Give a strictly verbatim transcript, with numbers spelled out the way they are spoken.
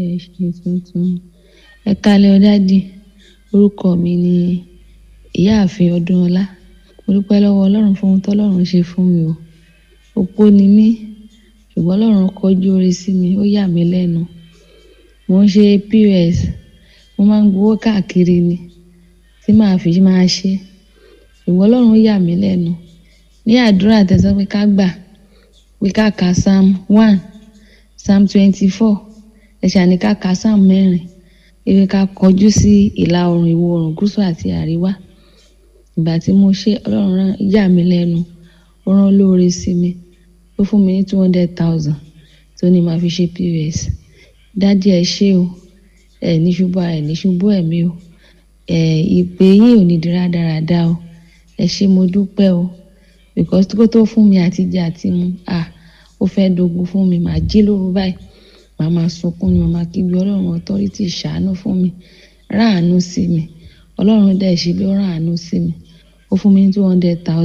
Ẹ ṣe tuntun. Ẹ káalẹ́ o daddy. Orúkọ mi ni Ìyáàfin Ọdúnọlá. Mo dúpẹ́ lọ́wọ́ Ọlọ́run fún ohun tó Ọlọ́run ṣe fún mi o. Opó ni mí, ṣùgbọ́n Ọlọ́run kọjú oore sí mi, ó yà mí lẹ́nu. Mo ń ṣe P O S, mo máa ń gbowó káàkiri ni tí màá fi máa ṣe. Ṣùgbọ́n Ọlọ́run yà mí lẹ́nu. Ní àdúrà tẹ sọ pé ká gbà, pé ká ka Psalm one, Psalm twenty-four, ẹ ṣà ní ká ka Psalm mẹ́rin, wípé ká kọjú sí ìlà oòrùn, ìwọ̀ oòrùn, gúúsù àti àríwá. Ìgbà tí mo ṣe, Ọlọ́run rán yà mí lẹ́nu. Ó rán olóore sí mi. Ó fún mi ní two hundred thousand tó ní màá fi ṣe P O S. Daddy ẹ ṣé o. Ẹ ní ṣubú ara, ẹ ní ṣubú ẹ̀mí o. Ẹ ìpè yín ò ní di rádaràda o. Ẹ ṣé mo dúpẹ́ o. Because kó tó fún mi àti jẹ àti mu, à, ó fẹ́ dogun fún mi. Màá jí lóru báyìí. Màá máa sunkún ni, màá máa kígbe Ọlọ́run authority ṣàánú fún mi. Rán àánú sí mi. Ọlọ́run dẹ̀ ṣe bí ó rán àánú sí mi. Ó fún mi ní two hundred thousand.